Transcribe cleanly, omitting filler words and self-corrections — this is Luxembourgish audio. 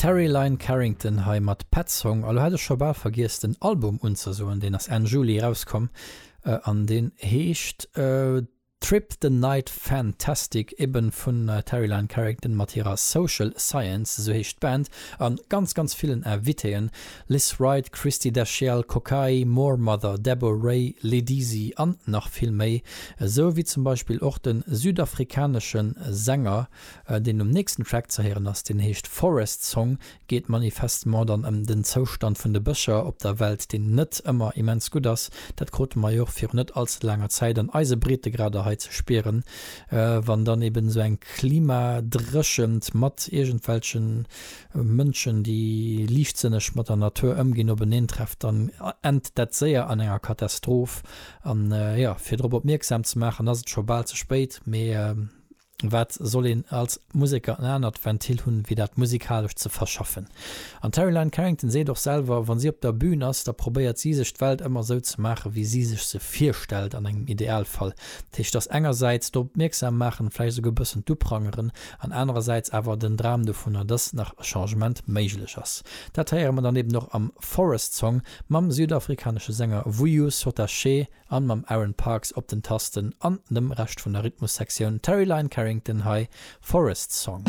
Terri Lyne Carrington hei mat Pet Song. A lo hat ech scho bal vergiess den Album unzesoen, deen ass Enn Juli erauskomm an deen heescht Trip the Night Fantastic, eben vun Terri Lyne Carrington mat hirer Social Science, esou heescht d'Band, an ganz ganz villen Invitéen, Lizz Wright, Christie Dashiell, Kokayi, Moor Mother, Debo Ray, Ledisi an nach vill méi, esou wéi zum Beispill och de südafrikanesche Sänger deen um nächsten Track ze héieren ass, deen heescht Forest Song, geet manifestement dann ëm den Zoustand vun de Bëscher op der Welt, deen net ëmmer immens gutt ass. Dat krute mer jo och virun net all ze laanger Zäit an eise Breetegrader hei ze spieren, wann dann eben esou eng Klimadréchent mat iergendwelche Mënschen, déi liichtsënneg mat der Natur ëmginn, openeen trefft, dann ennt dat séier an enger Katastroph. An jo, fir drop opmierksam ze maachen, ass et scho bal ze spéit, mee Wat soll een als Museker en anert Ventil hunn, wéi dat musikalesch ze verschaffen? An d'Terri Lyne Carrington seet och selwer, wa si op der Bün ass, da probéiert si sech d'Welt ëmmer esou ze maachen, wéi si sech se virstellt an engem Idealfall. Dat heescht, dass engersäits drop opmierksam maachen, vläicht esouguer e bëssen d'Uprangeren, an anerersäits awer den Dram dovunner, dass nach e Changement méiglech ass. Dat héiere mer dann eben och am Forest Song mam südafrikanesche Sänger Vuyo Sotashe, An mam Aaron Parks op den Tasten an dem Rescht vun der Rhythmussektioun, Terri Lyne Carrington hei, Forest Song.